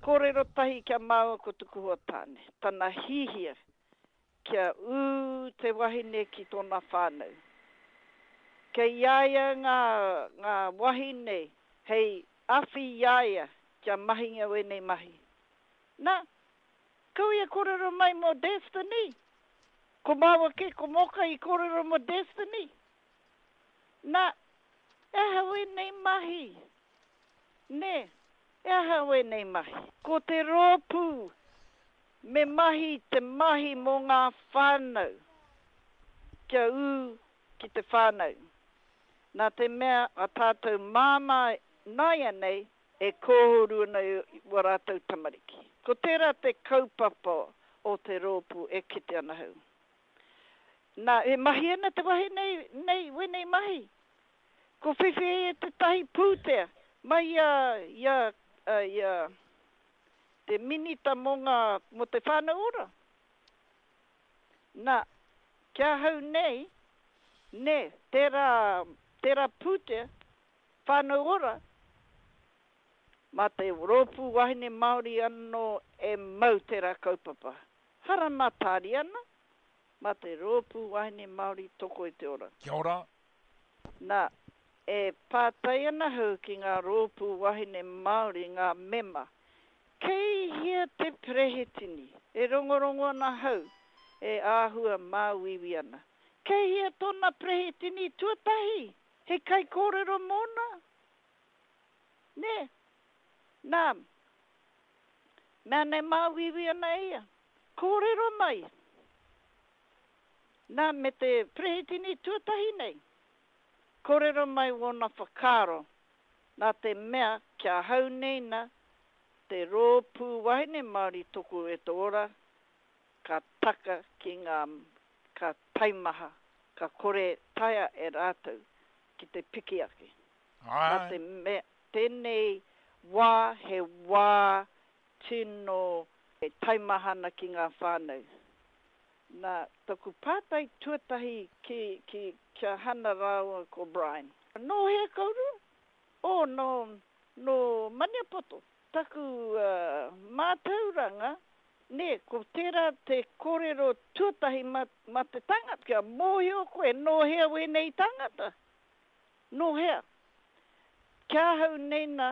Kōrero tahi ki a māua ko tuku hoa tāne, tana hihia kia ū te wahine ki tōna whānau. Kei a ia ngā, ngā wahine hei awhi i a ia kia mahingia wēnei mahi. Na, kau ia kōrero mai mō Destiny. Ko māua kē ko Moka i kōrero mō Destiny. Na, e aha wēnei mahi? Nē, he aha wēnei mahi? Ko te rōpū me mahi te mahi mō ngā whānau, kia ū ki te whānau. Nā te mea a tātou māmā nāianei e kōhuru ana i wā rātou tamariki. Ko tērā te kaupapa o te rōpū e kite ana ahau. Nā, e mahi ana te wahine nei wēnei mahi. Ko whiwhi e ia tētahi pūtea mai i a, i a, i a te Minita mō ngā, mō te Whānau Ora. Nā, ki ahau nei, nē, tērā, tērā pūtea, Whānau Ora, mā te Rōpū Wahine Māori anō e mau tērā kaupapa. Hara mā Tāriana, mā te Rōpū Wahine Māori Toko i te Ora. Kia ora. Nā, e pātai ana ahau ki ngā rōpū wahine Māori, ngā mema, kei hea te perehitini? E rongorongo ana ahau e āhua māuiui ana. Kei hea tōna perehitini tuatahi hei kaikōrero mōna? Nē? Nā, mea nei māuiui ana e ia. Kōrero mai! Nā, me te perehitini tuatahi nei, kōrero mai wōna whakaaro, nā te mea ki ahau nei na, te Rōpū Wahine Māori Toko e te Ora, ka taka ki ngā, ka taimaha, ka kore taea e rātou ki te piki ake. Nā te mea, tēnei wā he wā tino taimaha ana ki ngā whānau. Nā, taku pātai tuatahi ki, ki, ki a Hana rāua ko Brian. Nō hea kourua? Oh, nō, nō Maniapoto. Taku uh, mātauranga, nē, ko tērā te kōrero tuatahi mā, mā te tangata. Kia mōhio koe nō hea wēnei tāngata? Nō hea? Ki ahau nei nā,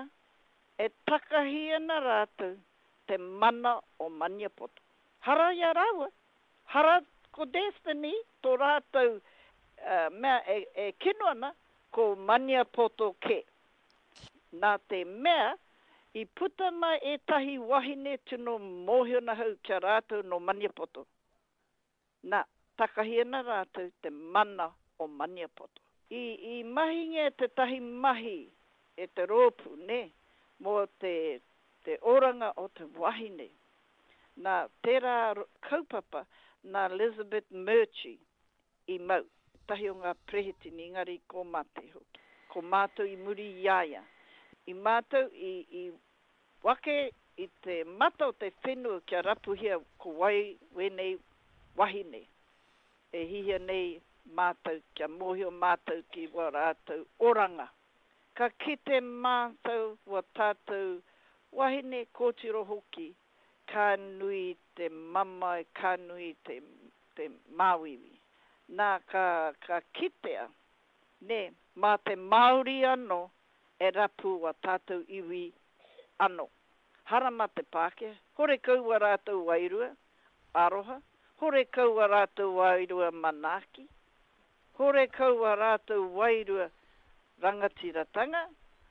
e takahi ana rātou te mana o Maniapoto. Hara i a rāua, hara ko Destiny tō rātou mea e kino ana, ko Maniapoto kē. Nā te mea, i puta mai ētahi wahine tino mōhio ana hau ki a rātou nō Maniapoto. Nā, takahi ana rātou te mana o Maniapoto. I, i mahingia tētahi mahi e te rōpū, nē, mō te, te oranga o te wahine. Nā tērā kaupapa nā Elizabeth Murchie i mau, tētahi o ngā perehitini, engari ko mate hoki. Ko mātou i muri i a ia. I mātou i, i wake i te mata o te whenua kia rapuhia ko wai wēnei wahine e hihia nei mātou kia mōhio mātou ki wā rātou oranga. Ka kite mātou wā tātou wahine kōtiro hoki ka nui te mamae, ka nui te, te māuiui. Nā, ka, ka kitea, nē, mā te Māori anō e rapu wā tātou iwi anō. Hara mā te Pākehā, horekau wā rātou wairua aroha, horekau wā rātou wairua manaaki, horekau wā rātou wairua rangatiratanga,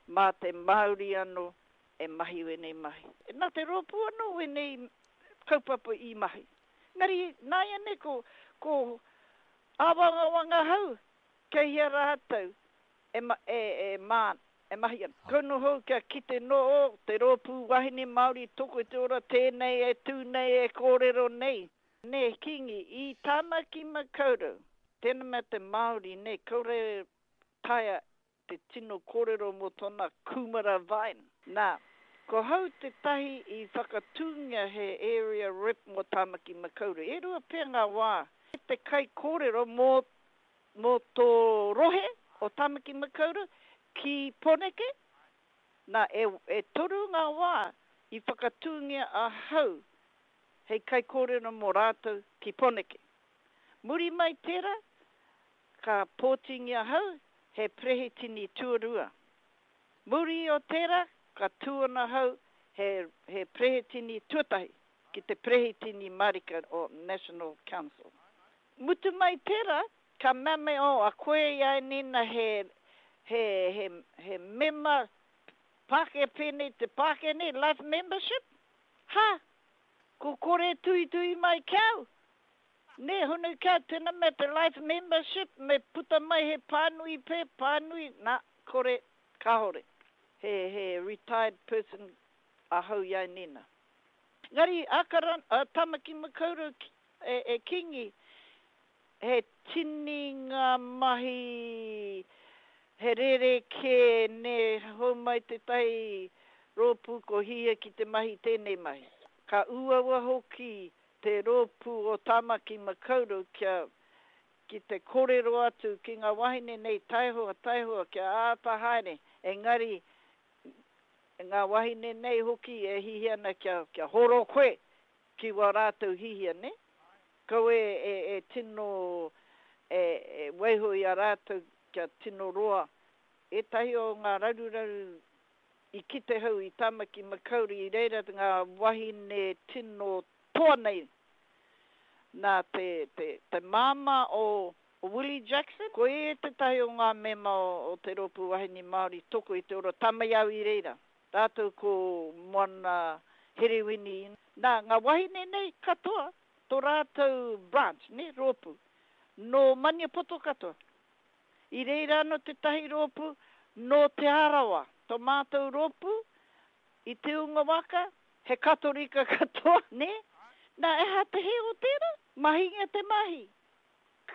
mā te Māori anō e mahi wēnei mahi. Nā te rōpū anō wēnei kaupapa i mahi. Engari nāianei ko, ko āwangawanga ahau kei hea rātou e, e, e, mā, e mahi ana. Kau noho kia kite nō te rōpū wahine Māori toko i te ora tēnei e tū nei e kōrero nei. Nē, Kīngi, i Tāmaki Makaurau, tēnā mea te Māori, nē, kaore taea te tino kōrero mō tōna kūmara vine. Nā, ko hau tētahi i whakatūngia he area rep mō Tāmaki Makaurau. E rua pea ngā wā te kaikōrero mō, mō tō rohe o Tāmaki Makaurau ki Pōneke. Nā, e, e toru ngā wā. I whakatūngia ahau hei kaikōrero mō rātou ki Poneke. Muri mai tērā, ka pōtingia ahau he perehitini tuarua. Muri o tērā, ka tū ana ahau he, he perehitini tuatahi ki te perehitini marika o National Council. Mutu mai tērā, ka mea mai, oh, a koe i a Nina he, he, he, he mema Pākehā pēnei te Pākehā nei, life membership? Ha! Ko kore tuitui mai ki au. Nē, hunu ki au, tēnā mea te life membership, me puta mai he pānui pē, pānui, nā, kore, kāore. He, he retired person ahau i a Nina. Engari, Ākarana, a Tamaki Makaurau e, e Kingi, He tini ngā mahi, he rerekē nē, hou mai tētahi rōpū ko hihia ki te mahi tēnei mahi. Ka uaua hoki te rōpū o Tāmaki Makaurau kia ki te kōrero atu ki ngā wahine nei taihoa, taihoa kia āta haere, engari ngā wahine nei hoki e hihia ana kia kia horo koe ki wā rātou hihia, nē? Kaua e tino e waiho i a rātou kia tino roa. Ētahi o ngā raruraru i kite hau i Tāmaki Makaurau i reira ngā wahine tino toa nei nā te māmā o Willie Jackson, ko ia tētahi o ngā mema o te Rōpū Wahine Māori Toko i te Ora Tamaiau i reira. Rātou ko Moana Herewini. Nā, ngā wahine nei katoa, tō rātou branch, nē, rōpū, nō Maniapoto katoa. I reira anō tētahi rōpū nō Te Arawa. Tō mātou rōpū i Te Unga Waka, he Katorika katoa, nē. Nā, e aha te hē o tērā? Mahingia te mahi.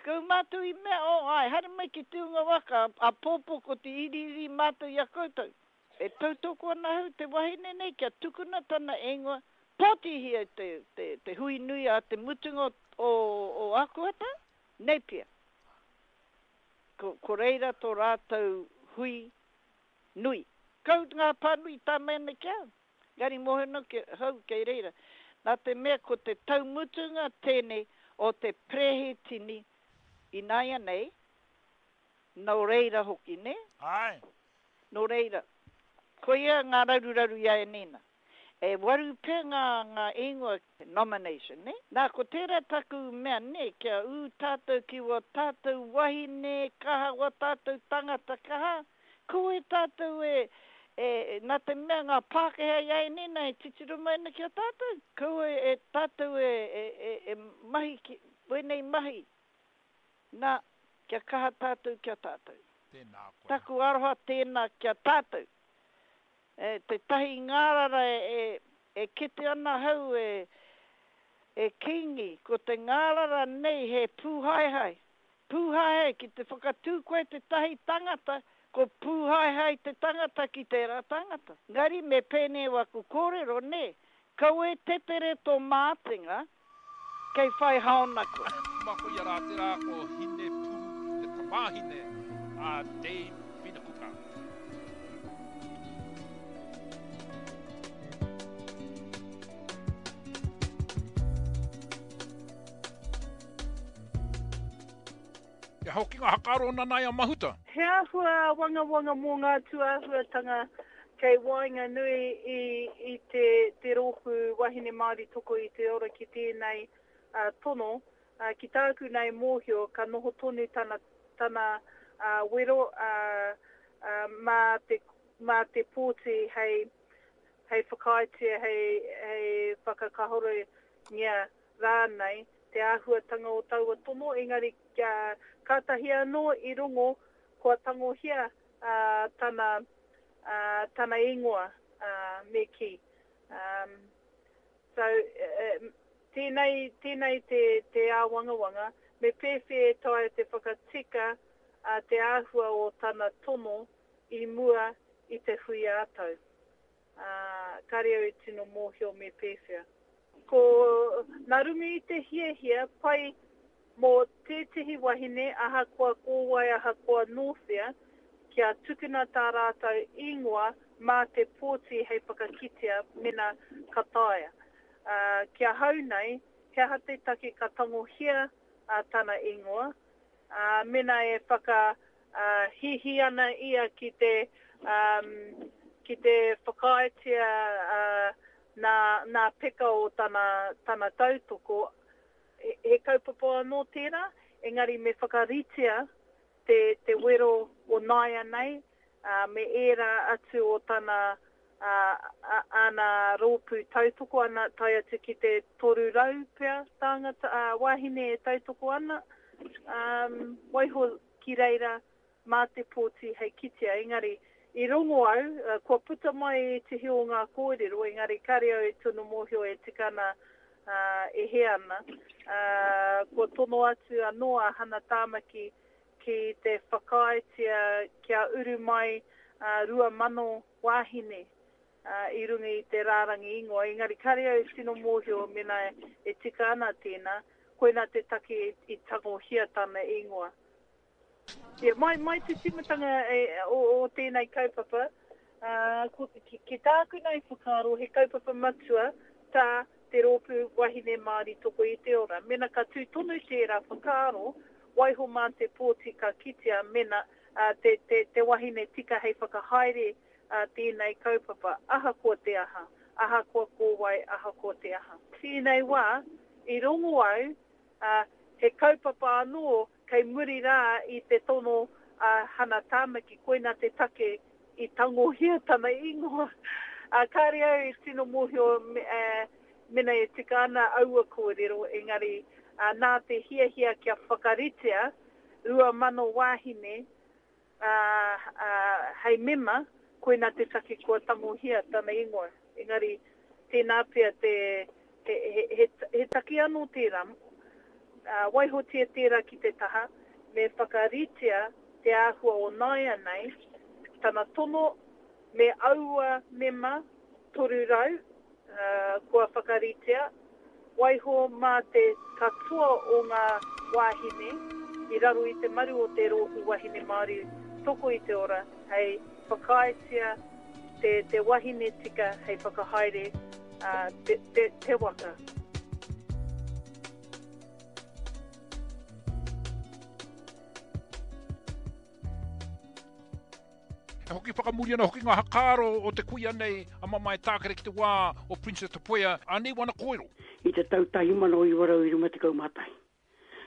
Kau mātou i mea, oh, āe, haere mai ki Te Unga Waka, āpōpō ko te iriiri mātou i a koutou. E tautoko ana ahau te wahine nei kia tukuna tana ingoa, pōtihia te, te, te hui nui a te mutunga o, o Akuhata, Napier. Ko, ko reira tō rātou hui nui. Kau ngā pānui tā mai ana ki au, engari mōhio ana ki ahau kei reira. Nā te mea ko te tau mutunga tēnei o te perehitini ināianei, nō reira hoki, nē? Āe. Nō reira, koia ngā raruraru i a Enina. E waru pea ngā, ngā ingoa, nomination, nē? Nā, ko tērā taku mea, nē, kia ū tātou ki wā tātou wahine kaha, wā tātou tangata kaha, kaua e tātou e, e, nā te mea ngā Pākehā i a Enina e titiro mai ana ki a tātou, kaua e tātou e, e, e, e mahi ki, wēnei mahi, Nā, kia kaha tātou ki a tātou. Tēnā koe. Taku aroha tēnā ki a tātou. E, tētahi ngārara e, e kite ana ahau e, e Kīngi, ko te ngārara nei he pūhaehae. Pūhaehae, ki te whakatū koe tētahi tangata, ko pūhaehae te tangata ki tērā tangata. Engari me pēnei waku kōrero, nē, kaua e tetere tō mātenga, Kei whai haona koe. Ma koia rā tērā ko Hinepuru te tamāhine a Dame Whina Kuka. He hokinga hakaro Nanaia Mahuta. He āhua āwangawanga mō ngā tūāhuatanga kei waenganui i i te te Rōpū Wahine Māori Toko i te Ora ki tēnei tono. Ki tāku nei mōhio ka noho tonu tana tana wero mā te mā te pōti hei hei whakaaetia hei hei whakakahorengia rānei te āhuatanga o taua tono, engari kātahi anō i rongo kua tangohia tana, tana ingoa, me kī. So, tēnei, tēnei te, te āwangawanga, me pēwhea e taea te whakatika te āhua o tana tono i mua i te hui ā-tau. Ā, kāre au e tino mōhio me pēwhea. Ko, nā runga i te hiahia pai mō tētehi wahine ahakoa ko wai ahakoa nō whea, kia tukuna tā rātou ingoa mā te pōti hei whakakitea mena ka taea. Ā, ki ahau nei, he aha te take ka tangohia tana ingoa, ā, mena e whaka, ā, hihi ana ia ki te, ā, ki te whakaaetia, ā, nā, nā peka o tana, tana tautoko, he, he kaupapa anō tērā, engari me whakaritea te, te wero o nāianei, ā, me ērā atu o tana, ā, āna rōpū tautoko ana, tae atu ki te 300 pea tāngata, ā, wāhine e tautoko ana, ā, waiho ki reira mā te pōti hei kitea. Engari, i rongo au, kua puta mai ētehi o ngā kōrero, engari kāre au e tino mōhio e tika ana, ā, e hē ana, ā, kua tono atu anō a Hana Tāmaki ki te whakaaetia kia uru mai 2,000 wāhine i runga i te rārangi ingoa, engari kāre au e tino mōhio mēnā e tika ana tēnā, koinā te take i tangohia tana ingoa. Ia, mai, mai te tīmatanga o, o tēnei kaupapa, ko, ki, ki tāku nei whakaaro he kaupapa matua tā te Rōpū Wahine Māori Toko i te Ora. Mēnā ka tū tonu tērā whakaaro, waiho mā te pōti ka kitea mena te, te, te wahine tika hei whakahaere tēnei kaupapa, ahakoa te aha, ahakoa ko wai, ahakoa te aha. Tēnei wā, i rongo au, he kaupapa anō kei muri rā i te tono a Hana Tāmaki, koina te take i tangohia tana ingoa. Kāre au e tino mōhio mena e tika ana aua kōrero, engari nā te hiahia kia whakaritea 2,000 wāhine hei mema, koina te take kua tangohia tana ingoa. Engari, tēnā pea te, he, he, he, he take anō tērā. Waihotia tērā ki te taha, me whakaritea te āhua o nāianei, tana tono me aua mema 300 kua whakaritea, waiho mā te katoa o ngā wāhine i raro i te maru o te Rōpū Wahine Māori Toko i te Ora hei whakaaetia te te wahine tika hei whakahaere te te te waka. E hoki whakamuri ana hoki ngā hakaaro o te kuia nei a Mamae Tākere ki te wā o Princess Te Puea, anei wana kōrero. I te tau 1951,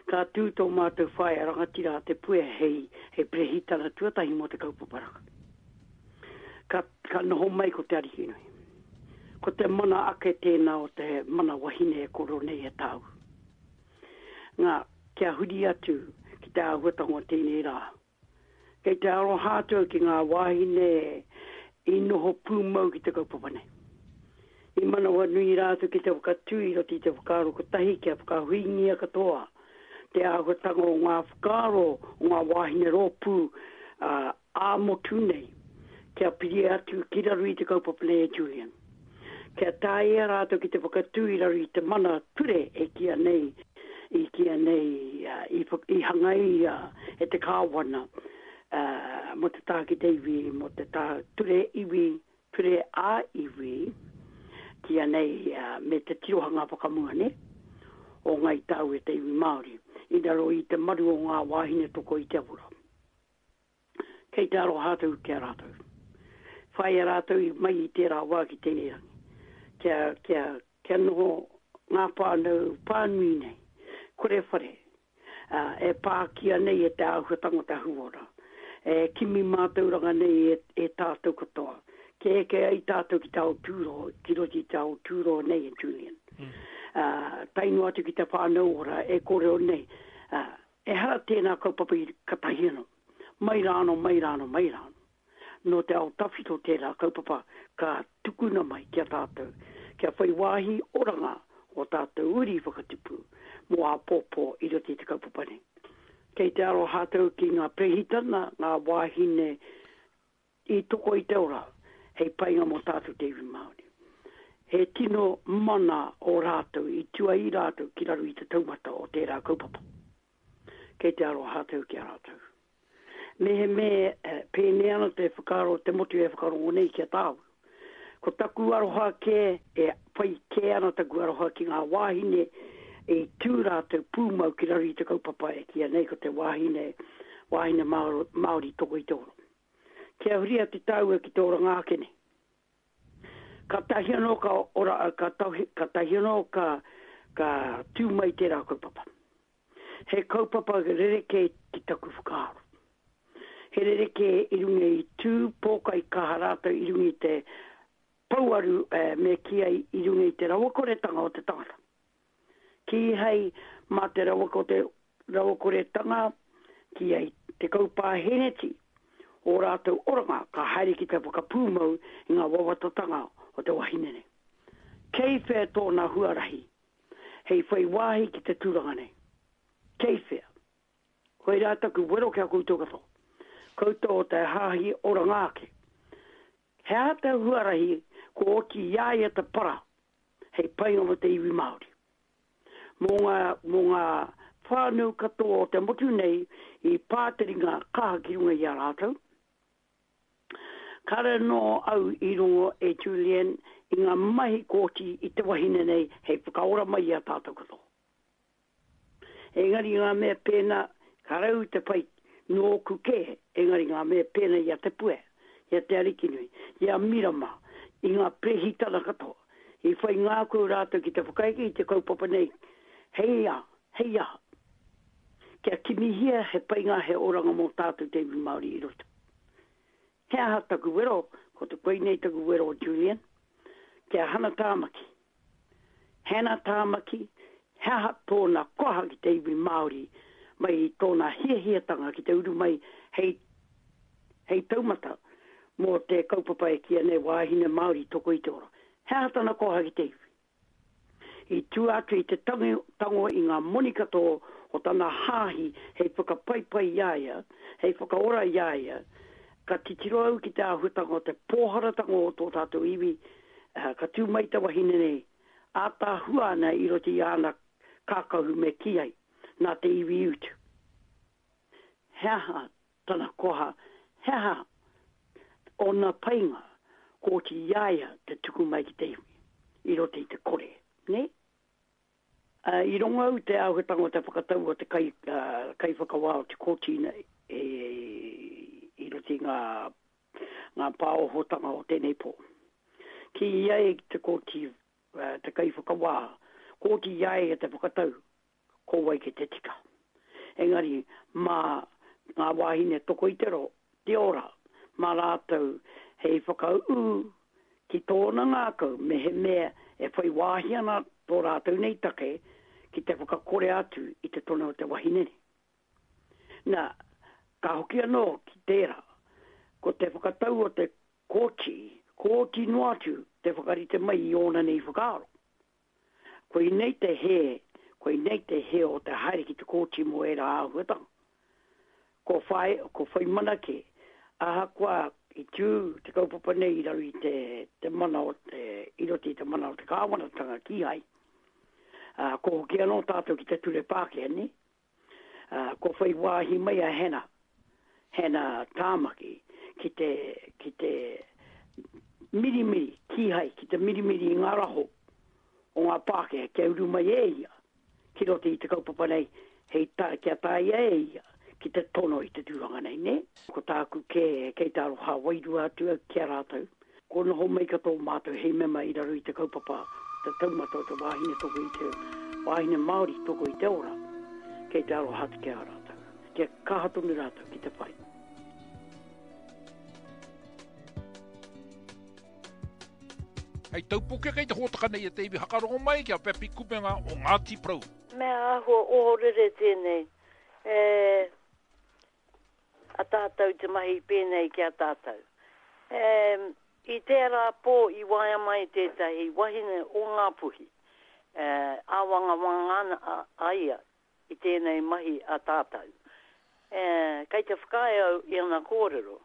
ka tū tō mātou whaea rangatira a Te Puea hei, hei perehitana tuatahi mō te kaupapa raka. Ka, ka noho mai ko Te Arikinui. Ko te mana ake tēnā o te mana wahine e koro nei e tāu. Ngā, kia huri atu ki te āhuatanga o tēnei rā. Kei te aroha atu au ki ngā wāhine i noho pūmau ki te kaupapa nei. I manawanui rātou ki te whakatū i roto i te whakaaro kotahi kia whakahuingia katoa te āhuatanga o ngā whakaaro o ngā wāhine rōpū ā-motu nei kia piri atu ki raro i te kaupapa nei e Julian. Kia taea rātou ki te whakatū i raro i te mana ture e kīia nei i kīia nei i hangaia e te Kāwana mō te taha ki te iwi, mō te taha ture iwi, ture ā-iwi, kīia nei me te tirohanga whakamua nei o Ngāi Tahu e te iwi Māori i raro i te maru o ngā wāhine toko i te ora. Kei te aroha atu ki a rātou. Whāia rātou i mai i tērā wā ki tēnei rangi. Kia, kia, kia noho ngā whānau whānui nei, kore whare, ā, e pākia nei e te āhuatanga o te ahuora, e kimi mātauranga nei e, e tātou katoa, kia eke ai tātou ki te ao tūroa, ki roto i te ao tūroa nei e Julian. Ā, tae noa atu ki te whānau ora e kōrero nei, ā, Ehara tēnā kaupapa i katahi anō. Mai rānō, mai rānō, mai rānō. Nō te ao tawhito tērā kaupapa ka tukuna mai ki a tātou, kia whai wāhi oranga ō tātou uri whakatipu mō āpōpō i roto i te kaupapa nei. Kei te aroha atu ki ngā perehitana, ngā wāhine I toko i te ora hei painga mō tātou te iwi Māori. He tino mana ō rātou i tua i rātou ki raro i te taumata o tērā kaupapa. Kei te aroha atu ki a rātou. Mehemea pēnei ana te whakaaro o te motu e whakarongo nei ki a tāu. Ko taku aroha kē, e whai kē ana taku aroha ki ngā wāhine i tū rātou pūmau ki raro i te kaupapa e kīia nei ko te wāhine, wāhine Māori toko i te ora. Kia huri atu tāua ki te oranga ake nei. Kātahi anō ka ora, kātahi anō ka, ka tū mai tērā kaupapa. He kaupapa rerekē ki taku whakaaro. He rerekē i runga i tū pōkai kaha rātou i runga i te pouaru me kī ai i runga i te rawakoretanga o te tangata. Kīhai mā te rawakoretanga kī ai 10 pāheneti o rātou oranga ka haere ki te whakapūmau i ngā wawatatanga o te wahine nei. Kei whea tōna huarahi hei whai wāhi ki te tūranga nei. Kei whea? Koirā taku wero ki a koutou katoa. Koutou o te hāhi oranga ake. He aha te huarahi kua oti i a ia te para hei painga mō te iwi Māori? Mō ngā, mō ngā whānau katoa o te motu nei i pā te ringa kaha ki runga i a rātou, Kāre anō au i rongo e Julian i ngā mahi kōti i te wahine nei hei whakaora mai i a tātou katoa. Engari ngā mea pēnā, kāre au te whai nōku kē, engari ngā mea pēnā i a Te Puea, i a Te Arikinui, i a Mirama, i ngā perehitana katoa, i whai ngākau rātou ki te whakaeke i te kaupapa nei, hei a, hei aha? Kia kimihia he painga, he oranga mō tātou te iwi Māori i roto. He aha taku wero? Ko te koinei taku wero Julian. Ki a Hana Tāmaki. Hannah Tāmaki, he aha tōna koha ki te iwi Māori mai i tōna hiahiatanga ki te uru mai hei hei taumata mō te kaupapa e kīia nei Wāhine Māori Toko i te Ora. He aha tana koha ki te iwi? I tua atu i te tango i ngā moni katoa o tana hāhi hei whakapaipai i a ia, hei whakaora i a ia, ka titiro au ki te āhuatanga o te pōharatanga o tō tātou iwi, ka tū mai te wahine nei, ātaahua ana i roto i āna kākahu me kī ai, nā te iwi i utu. He aha tana koha, he aha ōna painga kua oti i a ia te tuku mai ki te iwi, i roto i te kore, nē? Ā, i rongo au te āhuatanga o te whakatau o te kai, kaiwhakawā o te kōti i roto i ngā, ngā pāohotanga o tēnei pō. Kī ai te kōti, te kaiwhakawā, kua oti i a ia te whakatau ko wai ki te tika. Engari, mā ngā wāhine toko i te ro, te ora, mā rātou hei whakaū ki tōna ngākau mehemea e whai wāhi ana tō rātou nei take ki te whakakore atu i te tono o te wahine nei. Nā, ka hoki anō ki tērā, ko te whakatau o te kōti, kōti noa atu te whakarite mai i ōna nei whakaaro. Koinei te hē, koinei te hē o te haere ki te kōti mō ērā āhuatanga. Ko whai, ko whai mana kē, ahakoa i tū te kaupapa nei i raro i te, te mana o te, i roto i te mana o te kāwanatanga kīhai, ā, ko hoki anō tātou ki te ture Pākehā, nē? Ā, kua whai wāhi mai a Hannah, Hannah Tāmaki, ki te, ki te mirimiri, kīhai, ki te mirimiri i ngā raho o ngā Pākehā kia uru mai e ia ki roto i te kaupapa nei, hei tā, kia taea e ia ki te tono i te tūranga nei, nē? Ko tāku kē, kei te aroha wairua atu au ki a rātou. Kua noho mai katoa mātou hei mema i raro i te kaupapa te taumata o te wāhine toko i te wāhine Māori toko i te ora, kei te aroha atu ki a rātou. Kia kaha tonu rātou ki te whai. Hei taupoke kei te hōtaka nei e te iwi hakarongo mai ki a Pepi Kupenga o Ngāti Porou. Mea āhua ohorere tēnei, e a tātou te mahi pēnei ki a tātou. E, i tērā pō i waea mai tētahi wahine o Ngāpuhi, e, āwangawanga ana a, a ia i tēnei mahi a tātou. E, kei te whakaae au i ana kōrero.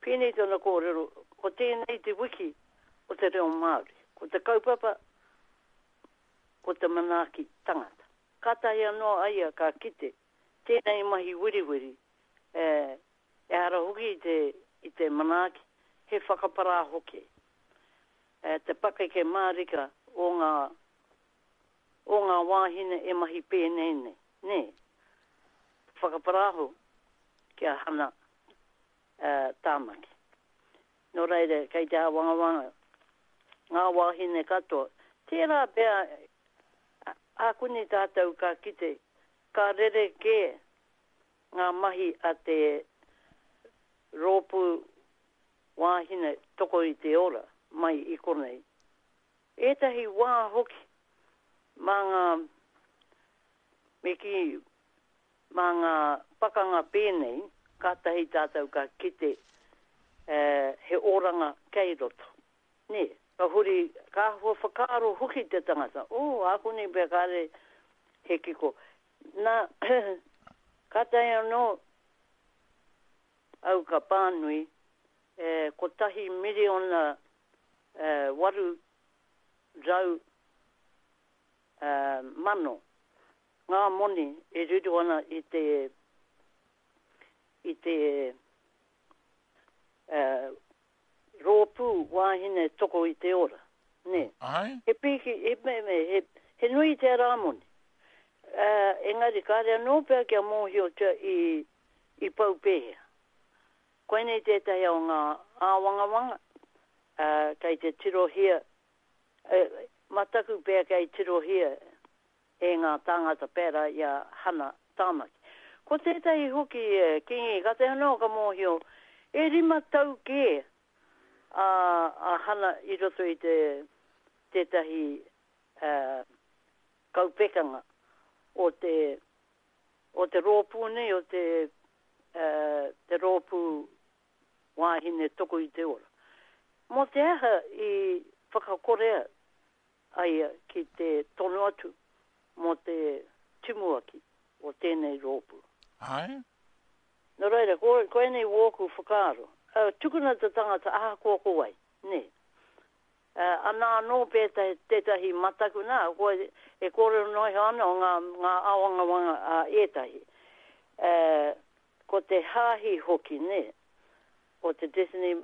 Pēnei tana kōrero, ko tēnei te wiki o te reo Māori. Ko te kaupapa, ko te manaaki tangata. Kātahi anō a ia ka kite tēnei mahi wiriwiri, e, Ehara hoki i te, i te manaaki, he whakaparā hoki. Te pakeke mārika o ngā, o ngā wāhine e mahi pēnei nei, nē? Whakaparāho ki a Hana Tāmaki. Nō reira, kei te āwangawanga ngā wāhine katoa. Tērā pea, ākuni tātou ka kite, ka rerekē ngā mahi a te rōpū wāhine toko i te ora mai i konei. Ētahi wā hoki mā ngā, me kī, mā ngā pakanga pēnei, kātahi tātou ka kite he oranga kei roto. Nē, ka huri, ka āhua whakaaro hoki te tangata, oh, ākuni pea kāre he kiko. Nā, kātahi anō au ka pānui, e, miriona 800 mano ngā moni e riro ana i te, i te rōpū wāhine toko i te ora, nē. Āe. He pīki, he, me, me, he, he nui tērā moni. Engari kāre anō pea kia mōhiotia i, i pau pēhea. Koinei tētahi o ngā āwangawanga, kei te tirohia, mataku pea kei tirohia e ngā tāngata pērā i a Hana Tāmaki. Ko tētahi hoki, Kingi, kātahi anō ka mōhio, e rima tau kē a, a Hana i roto i te, tētahi kaupekanga o te, o te rōpū nei, o te, te rōpū wāhine toko i te ora. Mō te aha i whakakorea a ia ki te tono atu mō te timuaki o tēnei rōpū. Āe. Nō reira, ko, koinei wōku whakaaro. Tukuna te tangata ahakoa ko wai, nē. Ana anō pea tētahi mataku, nā, kua e kōrero noa iho ana o ngā, ngā āwangawanga a ētahi. Ko te hāhi hoki, nē, o te Destiny,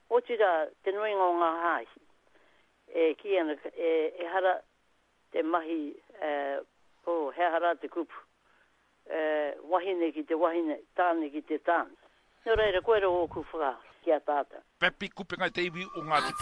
otirā, te nuinga o ngā hāhi, e kī ana, e, ehara te mahi, e, oh, he aha rā te kupu, e, wahine ki te wahine, tāne ki te tāne. Nō reira, koira ōku whakaaro ki a tātou. Pepi Kupenga i te iwi o Ngāti Porou.